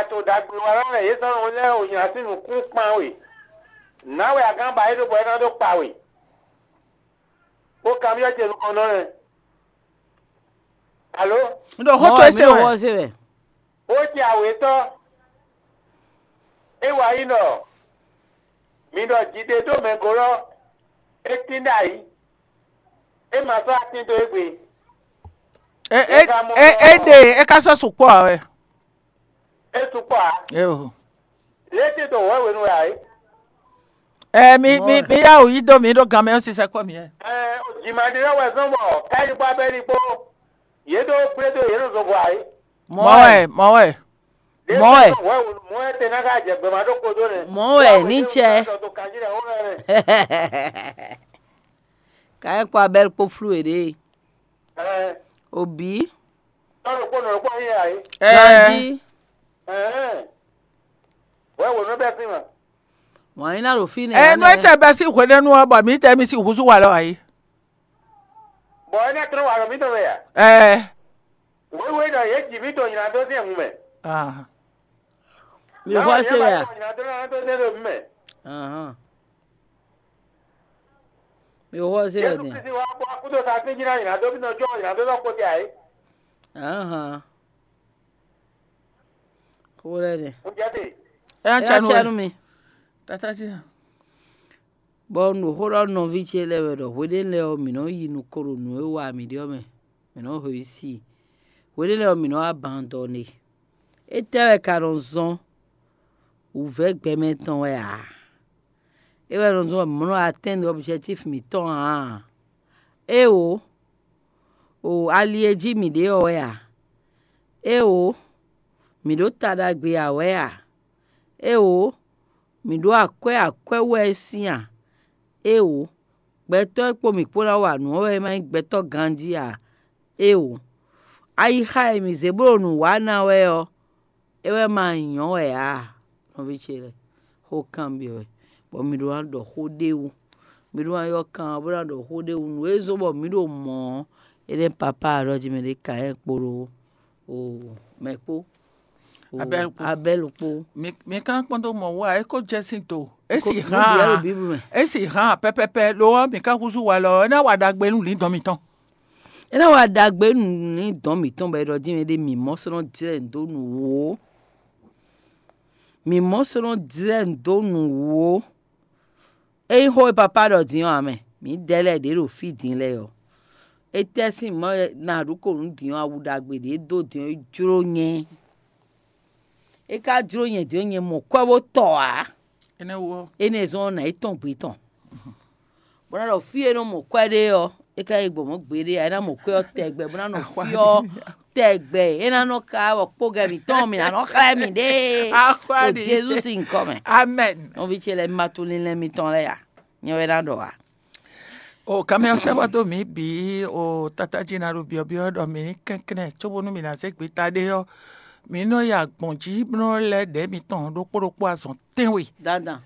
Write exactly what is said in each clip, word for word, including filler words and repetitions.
to ɖagbe wa lɔ lɛ yě zɔn lɛ́ɛ o nyi así nǔkún kpan we. Nǎ wɛ a gán ba é ɖó bɔ é ná dó kpa we. Bó kanbyɔ́ ce nukɔn nɔ lɛ. Alo? Un ɖɔ xó Mɔ towe wɛ, mí se ɖo wɛ. Xó se wɛ. Ó jɛ awětɔ́. É wa yí ɖɔ mi ɖɔ jiɖe ɖó mɛ gólɔ́, é tín ɖ'ayǐ. É ma sɔ́ atín dó égbé. É é é é ɖe é ka sɔ́ sukpɔ́ ǎ wɛ. É sukpɔ́ ǎ. Éo. Lě é tín dó wɛ̌wenu wɛ ǎ é. Ɛ mi mi mi yá wǔ yí dó mǐ ɖó gan mɛ ɔ́ sisɛ kpɔ́ mǐ ɛ. Ɛ jǐmaɖélɔ́ wɛ zɔ́n bɔ káyíkpá bɛ́ ní kpó. Yě ɖó gblé dó yě ɖo zɔngbɔ ǎ é. Mɔ̌ wɛ mɔ̌ wɛ. Mɔ̌ wɛ. Mɔ̌ wɛ tɛn ná ká jɛ gbɛmɛ ɖó kpódó nɛ́. Mɔ̌ wɛ ní cɛ. Ká é kpó Abɛ́l kpó flú yěɖée. Obǐ. Tɔ́ ɖokpó nɔ ɖokpó yín ǎ é. Ganjí. Wɛ wǒ nɔ bɛ́ sín ma. Wǎn yín ná ɖo fínɛ́. Ɛ nú é tɛ bɛ́ sín hwenɛ́nu ɔ́, bɔ mǐ tɛ mì sín húzú wa lɔ ǎ é. Bɔ é ná tlɔ́n walɔ mǐtɔn wɛ a? Ɛɛ. Wěwe ɖɔ yě ji mǐ to nylá dó sín hun mɛ. Ah. Mi xɔ se wɛ a? Nylá dó nylá dó nɛ ɖo mí mɛ. Ahán. Mi xɔ se wɛ Jésù din. Kristi wá kpó akúdo sa fín jí ná nylá dó mí nɔ jɔ nylá dó nɔ kpó tɛ ayé. Ahán. Xó lɛ dɛ. Ń jẹ́ dè. Ɛ Ɛ yá yá canu canu wɛ. Mi. Tata sí. Bɔ un ɖo xó ɖɔ nú nɔví ce lɛ́ɛ wɛ ɖɔ hweɖénu lɛ́ɛ ɔ́, mǐ nɔ́ yi nukɔn ɖo nǔ e wa mǐ ɖe ɔ́ mɛ, mǐ nɔ́ hwesí i. Hweɖénu lɛ́ɛ ɔ́, mǐ nɔ́ wá ban dɔ n'i. Étɛ́ wɛ ka nɔ zɔ́n wǔvɛ́ gbɛmɛ tɔn wɛ ǎ? É wɛ nɔ zɔ́n bɔ mǐ nɔ́ atɛ́nnu ɔbjɛtíf mǐtɔn ǎ? Éeǒ, o ali e jí mǐ ɖe ɔ́ wɛ ǎ? Éeǒ, mǐ ɖo ta ɖagbe ǎ wɛ a? Éeǒ, mǐ ɖó akwɛ́ akwɛ́ wú wɛ é sín a? Éeǒ, gbɛtɔ́ e kpo mǐ kpó ná wa nǔ ɔ́ wɛ é ma nyí gbɛtɔ́ ganjí ǎ. Éeǒ, ayixa e mǐ zě bó ɖo nǔ wa ná wɛ ɔ́, é wɛ ma nyɔ̌ wɛ ǎ. Nɔví ce lɛ́ɛ, xó kanbyɔ́ wɛ, bɔ mi ɖó ná ɖɔ xó ɖé wú. Mi ɖó ná ylɔ́ kan ɔ́ bó ná ɖɔ xó ɖé wú. Nǔ e zɔ́n bɔ mǐ ɖo mɔ̌ ɔ́, é nɛ́ papá alɔ jí mɛ ɖé Kayɛ́n kpo ɖó o mɛ kpó. O Abɛ́lu kpó. Abɛ́lu kpó. Mi mi ka kpɔ́n dó mɔ wú ǎ, é ko jɛ sín do. É Ko- si nǔ bǐ wɛ ɖo hán Bíblu mɛ. É si hán pɛpɛpɛ lo ɔ́, mi ka húzú walɔ ɔ́, é ná wa ɖagbe nú lǐndɔn mitɔn. É ná wa ɖagbe nú lǐndɔn mǐtɔn bɔ é ɖɔ dín mɛ ɖé mǐ mɔ sɔ́ nɔ jlɛ́ nǔ dó nǔ wú ó. Mǐ mɔ sɔ́ nɔ jlɛ́ nǔ dó nǔ wú ó. Ényí xó e papá ɖɔ din ɔ́ ǎ mɛ, mǐdɛɛ lɛ́ɛ ɖě ɖo fí din lɛ́ɛ ɔ́, étɛ́ sín mɔ̌ wɛ na ɖu ko nǔ din ɔ́, awu ɖagbe ɖě dó din ɔ́ é jló nyɛ. É ka jló nyɛ din ɔ́, nyɛ mɔ kwɛ́ bó tɔ ǎ. Énɛ́ wú ɔ́, Énɛ́ zɔ́n ɔ́, nǎ yi tɔ́n gbe tɔn. Bó ná ɖɔ fí e nɔ mɔ kwɛ́ ɖe ɔ́, é ka yi gbɔn mɔ̌ gbeɖé ǎ, é ná mɔ kwɛ́ ɔ́ tɛgbɛ, bó ná nɔ Axwá fí ɔ́ ɖi. Tɛgbɛ, é ná nɔ ka wɔ kpógɛ mǐtɔn, mǐ ná nɔ xlɛ́ mǐ ɖe Axwá ɖo ɖi. Jezu sín nyǐkɔ mɛ. Amen. Nɔví ce lɛ́ɛ, mi ma tunwun linlɛn mitɔn lɛ́ɛ a? Nyɛ wɛ ná ɖɔ a? O kanmɛ ɔ́ sɛ́ bɔ dó mǐ bǐ o tata jí ná ɖo byɔ̌byɔ́ ɖɔ mǐ ní kɛnklɛ́n cóbónú mǐ ná zé gbeta ɖé ɔ́, mǐ nɔ yi agbɔ̌n jí bó nɔ lɛ́ ɖɛ̌ mitɔn ɖokpó ɖokpó azɔn tɛ́nwe. Dandan.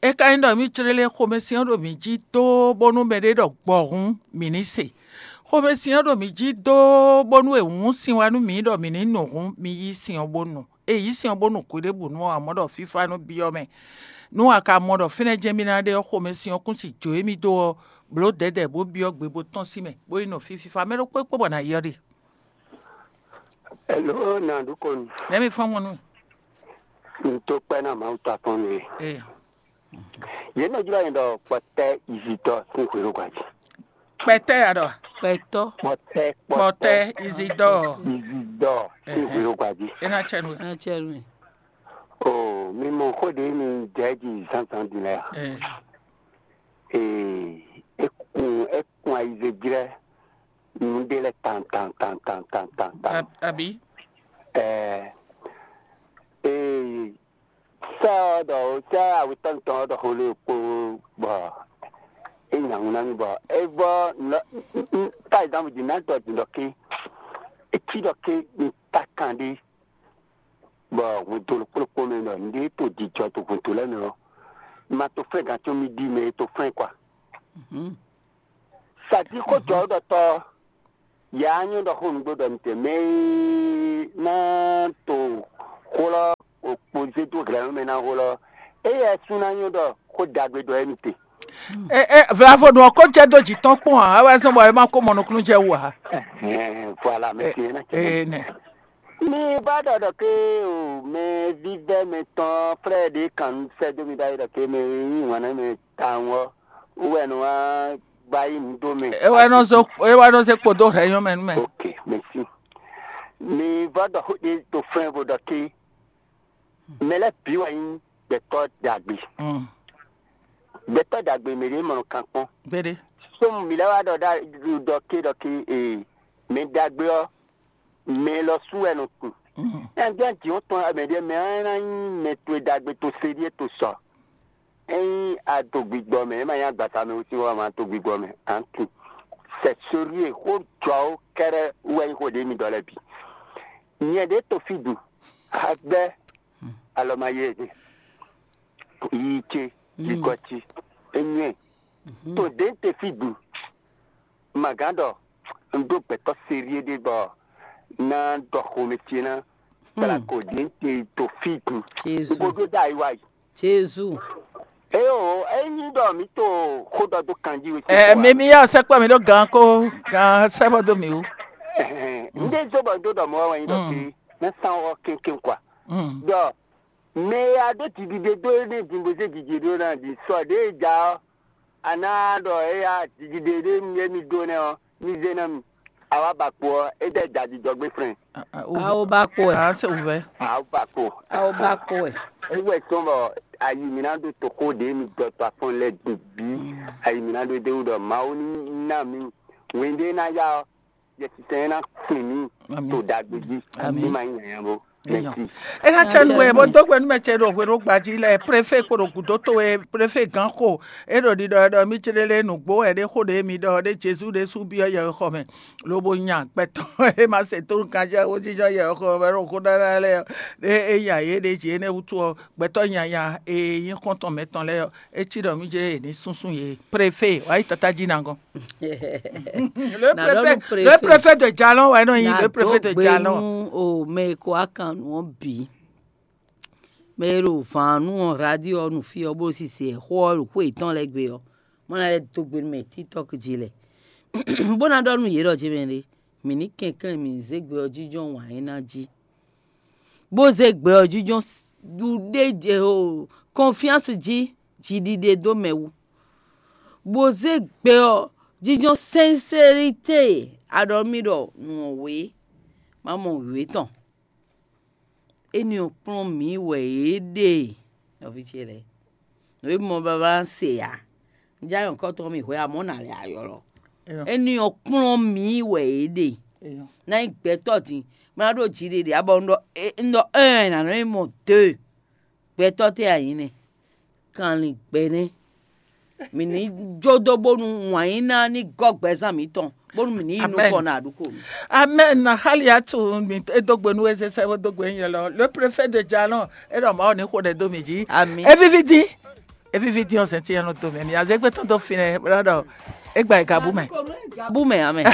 É ka nyí ɖɔ mǐ clélé xomɛsin ɔ́ ɖo mǐ jí dó bónú mɛɖé ɖɔ gbɔ hǔn mǐ ní se. Xomɛsin ɔ́ ɖo mǐ jí dó bónú è wǔn sin wá nú mǐ ɖɔ mǐ ní nu hǔn, mi yí sin ɔ́ bó nu. È yǐ sin ɔ́ bó nu hwiɖěbǔnu ɔ́, amɔ̌ ɖɔ fífá nú byɔ́ mɛ. Nú a ka mɔ ɖɔ fínɛ́ jɛ́n mì ná ɖe ɔ́, xomɛsin ɔ́ kún si jǒ émí dó ɔ́, blǒ dɛ̌dɛ̌ bó byɔ́ gbe bó tɔ́n sín mɛ, bó yi nɔ fí fífá. Mɛ ɖokpó e kpó bɔ nǎ yi ɔ́ ɖe. Hello, Nandu Kɔnu. Nɛ̌ mi fɔ́n mɔ nú mì? Un dó kpɛ́ ná Mawu ta tɔn nú we. Ee. Yě nɔ jlɔ́ nyɛ ɖɔ kpɔtɛ́ Izidɔ sín hwelógba jí. Kpɛtɛ́ ya ɖɔ. Kpɛtɔ́. Kpɔtɛ́, kpɔtɛ́, Izidɔ. Izidɔ sín Ɛhɛn. Hwelógba jí. É ná cɛ nú we. Ná cɛ nú we. O, mi mɔ xó ɖě mi jɛ jí zǎnzǎn din lɛ́ɛ a? Ee. Ee, é kun é kun ayizejlɛ́ nǔɖé lɛ́ɛ tan tan tan tan tan tan tan. Ab- Abi. Ɛɛ, ee, sɛ ɔ́ ɖɔ sɛ awetɔ́ mitɔn ɔ́ ɖɔ xó lé kpó bɔ é nya ŋu ná mì bɔ é vɔ nɔ ka example din ná tɔ din ɖɔ ké é cí ɖɔ ké mi ta kan ɖé bɔ hwento ɖokpó ɖokpó mɛ ɖɔ nǔɖé to jijɔ to hwento lɛ́ɛ mɛ ɔ́, ma to fɛ́n gǎn có mì ɖi mɛ e to fɛ́n kwa. Mhm. Sa jí xó jɔ ɔ́ ɖɔ tɔ yǎ nyɔ́ ɖɔ xó nǔgbó ɖɔ mi te mɛ e ná to xó lɔ kpo zé dó glɛ̌nú mɛ ná hó lɔ, éyɛ́ sú ná nyɔ́ ɖɔ xó ɖagbe ɖɔ émí te. Vlavo nɔ ko jɛ dó jǐ tɔn kpɔn ǎ, é wɛ zɔ́n bɔ é ma ko mɔ nukúnnú jɛ wú ǎ. Voilà, mɛ tiɲɛ ná cɛ. Ee nɛ. Mi ba ɖɔ ɖɔ ke o, mɛ vívɛ́ mɛ tɔn frɛ ɖé kan sɛ dó mi ɖ'ayǐ ɖɔ ke mɛ yí wǎn nɛ mɛ tawun ɔ́, wú wɛ nɔ wá gba yí nǔ dó mɛ. É wɛ nɔ zó é wɛ nɔ zé kpo dó hɛ̌ nyɔ́ mɛ nú mɛ. Ok, merci. Mi vɔ ɖɔ xó ɖé to flɛ́n vo ɖɔ ke mɛ lɛ́ɛ bǐ wɛ nyí gbɛtɔ́ ɖagbe. Mm. Gbɛtɔ́ ɖagbe mɛ ɖě mɔ nɔ kan kpɔ́n. Gbéɖé. Sómu mi lɛ́ wá ɖɔ ɖɔ ke ɖɔ ke ee mɛ ɖagbe ɔ́, mɛ lɔ sú wɛ nɔ kun. Mm. Ɛn jɛ́n jǐ ɔ́ tɔn mɛ ɖé mɛ ɔ́ ná nyí mɛ towe ɖagbe to se ɖíe to sɔ. Ényí a do gbigbɔ mɛ, é ma nyí agbasa mɛ wú sín wá ma do gbigbɔ mɛ, a nǎ tunwun. C'est sérieux, xó jɔ ó kɛ́ɖɛ́ wú wɛ nyí xó ɖě mi ɖɔ lɛ́ɛ bǐ. Nyɛ ɖě to fí dǔ, agbɛ́, alɔ ma yɛ ɛ, yiyi ce, yigɔ ce, é nyɔ́ ɛ. To ɖě un te fí dǔ, ma gǎn ɖɔ un ɖó gbɛ̌tɔ́ sérieux ɖé bɔ ná ɖɔ xomɛ ce ná kplako ɖě un te to fí dǔ. Jezu. Bo ɖó ɖo ayiwa yi. Jezu. Eyo, ényí ɖɔ mǐ to xó ɖɔ dó kanjí wé. Ɛ mi mi yá sɛkpɔ mi ɖó gan ko gan sɛbɔ dó mi wú. N ɖe zó bɔ dó ɖɔ mɔ wɛ nyi ɖɔ fi ná san wɔ kénkénkwá. Ɖɔ mɛ e a ɖó jiɖiɖe dó énɛ́ din bó zé jiji ɖó ná din sɔ ɖě e ja ɔ́, a ná ɖɔ éya jiɖiɖe ɖé e mi ɖó nɛ́ ɔ́, mi zé ná mi. A wá ba kpo ɔ́, é ɖɛ ja jijɔ gbé flɛ́n. Awo ba kpo wɛ. A se wǔvɛ́. A wá ba kpo. Awo ba kpo wɛ. É wɛ tɔn bɔ ayi mi ná ɖó toxo ɖě mi dɔ to afɔn lɛ din bǐ. Ayi mi ná ɖó dé wú ɖɔ Mawu ní ná mi wěndé ná yá ɔ́, Yɛsinsɛn ná fin mì to ɖagbe jí. Ní ma nyí nyanya bó. Eyɔn. Ena cɛ nu wɛ bó dó gbɛnú mɛ cɛ ɖo hwenu gbají lɛ préfé kpo ɖo gǔdo towe préfé gán xo. É ɖo ɖiɖɔ ɖɔ mí céɖélé nǔgbó wɛ ɖé xó ɖě mi ɖɔ ɖé Jezu ɖésú byɔ́ yɛwexɔ mɛ, lobo nya gbɛtɔ́ e ma se tónú kanjá wó jínjɔ́n yɛwexɔ mɛ ɖo xó ɖaɖa lɛ́ɛ ɔ́, ɖé é nya yě ɖě jí énɛ́ wútu ɔ́, gbɛtɔ́ nyanya e nyí xɔ́ntɔn mɛtɔn lɛ́ɛ ɔ́, é cí ɖɔ mí jlé yě ní súnsún yě. Préfé wǎ yi tata jí ná gɔ́n. Le préfet de Jalon wɛ nɔ nyi le préfet de Jalon. O mɛ e ko akan nǔ ɔ́ bǐ. Mɛ e ɖo vǎn nú ɔ́ radio ɔ́ nu fí ɔ́ bó sise xó ɔ́ ɖo xwé yětɔn lɛ́ɛ gbe ɔ́, mɔ ná lɛ́ dó gbe nú mɛ TikTok jí lɛ. Bó ná ɖɔ nú yě ɖɔ jɛmɛ ɖé, mǐ ní kɛnklɛ́n mǐ ní zé gbɛ ɔ́ jínjɔ́n wǎn é ná jí. Bó zé gbɛ ɔ́ jínjɔ́n ɖuɖé o confiance jí jiɖiɖe dó mɛ wú. Bó zé gbɛ ɔ́ jínjɔ́n sincérité. A ɖɔ mì ɖɔ nǔ ɔ́ wě, má mɔ wě tɔn. Énɛ́ ɔ́ kplɔ́n mǐ wɛ é ɖe, nɔví ce lɛ́ɛ. Nǔ e mɔ babá se ǎ. Un já nyɔ̌kɔ́tɔn mì hwɛ amɔ̌ nǎ lɛ́ ayɔlɔ. Énɛ́ ɔ́ kplɔ́n mǐ wɛ é ɖe. Ná nyí gbɛtɔ́ din, bó ná ɖó jiɖiɖe abɔ un ɖɔ un ɖɔ un nǎ nɔ nyí mɔ de. Gbɛtɔ́ tɛ́ a nyǐ nɛ́? Kanlin gbɛ nɛ́. Mǐ ní jó dó bónú wǎn yí ná ní gɔ́ gbɛzán mǐtɔn, bónú mǐ ní yi nukɔn ná ɖu ko. Amɛn. Xali atu mi e dó gbe nú eze sɛ bó dó gbe nyɛ lɔ. Le préfet de Jalon, e ɖɔ Mawu ní xo ɖɛ dó mi jí. Ami. Evivi dín. Evivi dín ɔzɛn tí ɛnɔ dó mɛ. Mi azé gbé tɔn dó finɛ, bla ɖɔ e gba gabu mɛ. Gabu mɛ amɛ.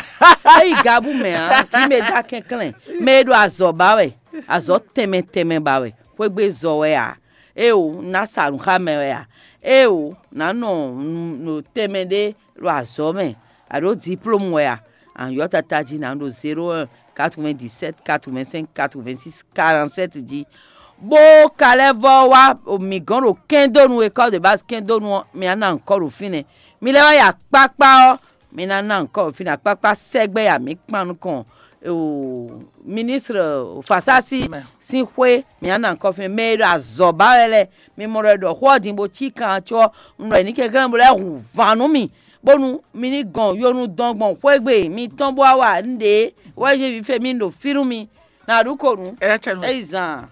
Eyi gabu mɛ a, kí mɛ dá kɛnklɛn. Mɛ e ɖo azɔ ba wɛ, azɔ tɛnmɛ tɛnmɛ ba wɛ. Xwégbe zɔ wɛ a. Eo, ná sa nǔ xá mɛ wɛ a? Eo, ná nɔ nɔ tɛnmɛ ɖé ɖo azɔ̌ mɛ, a ɖǒ diplôme wɛ a? Anyɔ̌ tata jí ná ɖo zéro un, quatre-vingt-dix-sept, quatre-vingt-cinq, quatre-vingt-six, quarante-sept jí. Bó ka lɛ́ vɔ́ wá mǐ gɔ́n ɖo kɛ́ndónu e kɔ́ de baz kɛ́ndónu ɔ́, mi ná ná nyǐkɔ ɖo fínɛ́. Mi lɛ́ wá yi akpákpá ɔ́, mi ná ná nyǐkɔ ɖo fínɛ́. Akpákpá sɛgbɛ ya mǐ kpan nukɔn. Ministre Fasasi sín xwé, mǐ ná ná nyǐkɔ fínɛ́. Mɛ e ɖo azɔ̌ ba wɛ lɛ́ɛ, mi mɔ ɖɔ è ɖɔ xó ɔ́ din bó cí kan có un ɖɔ è ní kɛnklɛ́n bó lɛ́ hun van nú mì, bónú mi ní gɔn yonu dɔn gbɔn xwé gbe mitɔn bó wá wa nǔɖé wɛ yí vǐ fé mì ɖo fí nú mi. Nǎ ɖu ko nǔ. Ɛ cɛ nú. Eyi zan.